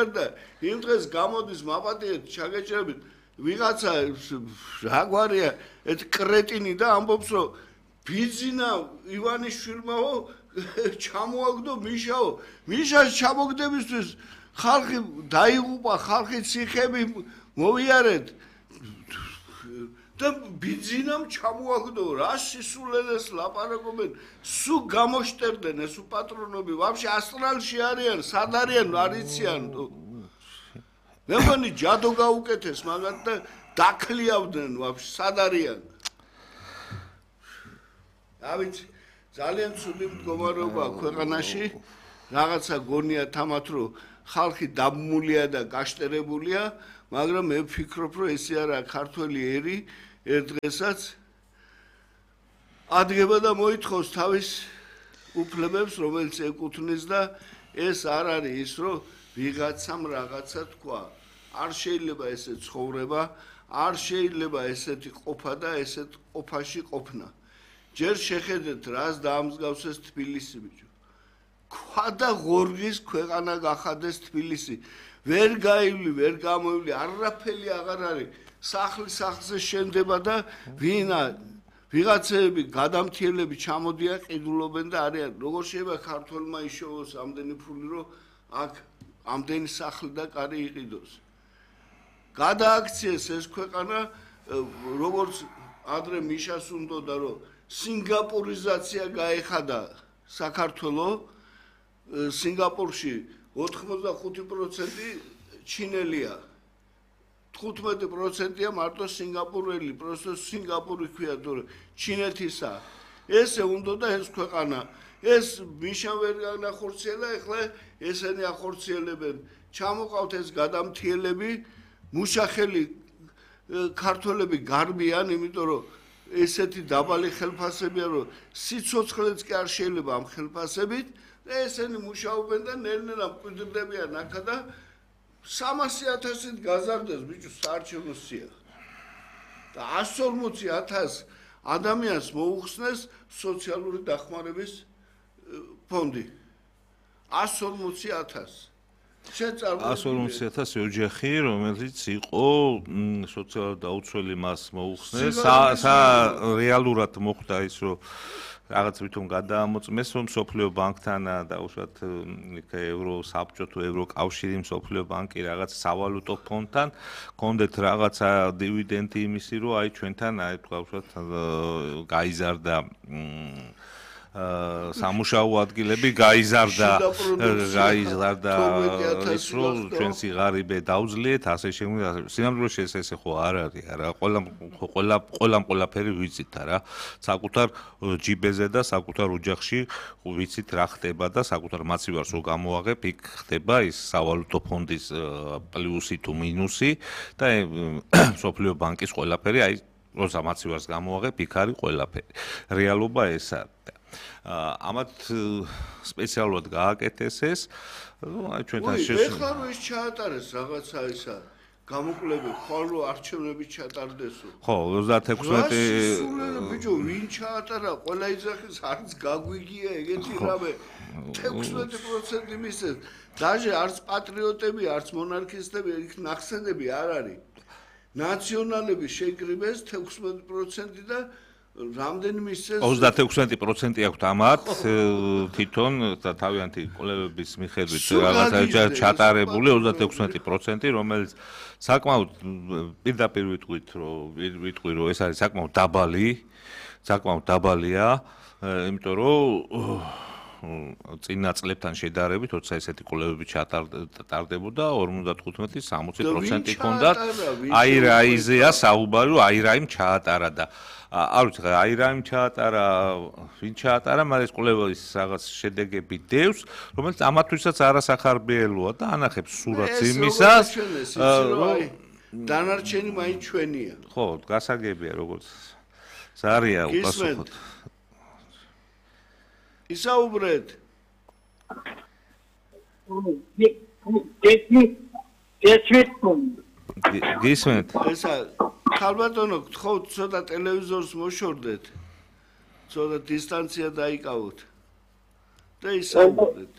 არ და იმ დღეს გამოდის მაპატიეთ ჩაგეჭრებით ვიღაცა რა გვარია ეს კრეტინი და ამბობს რომ ბიძინა ივანიშვილმაო ჩამოაგდო მიშაო მიშას ჩამოგდებისთვის ხალხი დაიღუპა ხალხი ციხები მოვიარეთ და ბიძინამ ჩამოაგდო რა სისულელეს ლაპარაკობენ სულ გამოშტერდნენ ეს პატრონები ვაფშე ასტრალში არიან სად არიან არ იციან მე მგონი ჯადო გაუკეთეს მაგათ და დაქლიავდნენ ვაფშე სად არიან ავიც ძალიან ცუდი მდგომარეობაა ქვეყანაში რაღაცა გონია თამათ რომ ხალხი დაბმულია და გაშტერებულია მაგრამ მე ვფიქრობ რომ ესე არა ქართველი ერი ერთ დღესაც ადგება და მოითხოვს თავის უფლებებს რომელიც ეკუთვნის და ეს არ არის ის რომ ვიღაცამ რაღაცა თქვა არ შეიძლება ესე ცხოვრება არ შეიძლება ესეთი ყოფა და ესეთ ყოფაში ყოფნა ჯერ შეხედეთ რას დაამსგავსეს თბილისი ბიჭო ქვა და ღორღის ქვეყანა გახადეს თბილისი ვერ გაივლი ვერ გამოივლი არაფერი აღარ არის სახლი სახლზე შენდება და ვინა ვიღაცები გადამთიელები ჩამოდიან ყიდულობენ და არიან როგორ შეიძლება ქართველმა იშოვოს ამდენი ფული რომ აქ ამდენი სახლი და კარი იყიდოს გადააქციეს ეს ქვეყანა როგორც ადრე მიშას უნდოდა რომ სინგაპურიზაცია გაეხადა საქართველოს სინგაპურში 85% ჩინელია 15%-ია მარტო სინგაპურელი просто სინგაპური ქვია თუ ჩინეთისა ესე უნდოდა ეს ქვეყანა ეს მიშა ვერ განახორციელა ეხლა ესენი ახორციელებენ ჩამოყავთ ეს გადამთიელები მუშახელი ქართველები გარბიან იმიტომ რომ ესეთი დაბალი ხელფასებია რომ სიცოცხლეც კი არ შეიძლება ამ ხელფასებით და ესენი მუშაობენ და ნელ-ნელა მკვიდრდებიან აქა და 300,000-ით გაზარდეს ბიჭო საარჩევნო სია და 140,000 ადამიანს მოუხსნეს სოციალური დახმარების ფონდი 140,000 140,000 ოჯახი რომელიც იყო სოციალურად დაუცველი მას მოუხსნეს რეალურად მოხდა ის რომ რაღაც ვითომ გადაამოწმეს რომ სოფლიო ბანკთან და უშუალოდ ევროსაბჭო თუ ევროკავშირი სოფლიო ბანკი რაღაც სავალუტო ფონდთან კონდეთ რაღაცა დივიდენდი იმისი რომ აი ჩვენთან აი თქვა უშუალოდ გაიზარდა სამუშაო ადგილები გაიზარდა ის რომ ჩვენ სიღარიბე დაუძლიეთ ასე შემიძლია სინამდვილეში ესე ხო არ არის არა ყველაფერი ვიცით არა საკუთარ ჯიბეზე და საკუთარ ოჯახში ვიცით რა ხდება და საკუთარ მაცივარს რო გამოაღებ იქ ხდება ის სავალუტო ფონდის პლუსი თუ მინუსი და სოფლიო ბანკის ყველაფერი აი როცა მაცივარს გამოაღებ იქ არის ყველაფერი რეალობა ესაა ამათ სპეციალურად გააკეთეს ეს აი ჩვენთან ეხლა რომ ის ჩაატარეს რაღაცა ისა გამოკვლევები ხოლმე არჩევნები ჩატარდესო ხო 36 ბიჭო ვინ ჩაატარა ყველა იძახის არც გაგვიგია ეგეთი რამე 16% მისცეს დაჟე არც პატრიოტები არც მონარქისტები იქ ნახსენები არ არის ნაციონალები შეკრიბეს 16% და რამდენიმე ისეს 36% აქვს ამათ თვითონ თავიანთი კვლევების მიხედვით რაღაცა ჩატარებული 36% რომელიც საკმაოდ პირდაპირ ვიტყვი რომ ეს არის საკმაოდ დაბალია იმიტომ რომ წინა წლებთან შედარებით, როცა ესეთი კვლევები ჩატარდებოდა 55-60% ჰქონდათ აირაიზეა საუბარი, რომ აირაიმ ჩაატარა და არ ვიცი, აირაიმ ჩაატარა, ვინ ჩაატარა, მაგრამ ეს კვლევის რაღაც შედეგები დევს, რომელიც ამათვისაც არასახარბიელოა და ანახებს სურათს იმისას, რომ დანარჩენი მაინც ჩვენია. ხო, გასაგებია როგორც ზარია უპასუხოთ. ისაუბრეთ. გისმენთ. ესა ხალბატონო, გთხოვთ ცოტა ტელევიზორს მოშორდეთ. ცოტა დისტანცია დაიკავოთ. და ისაუბრეთ.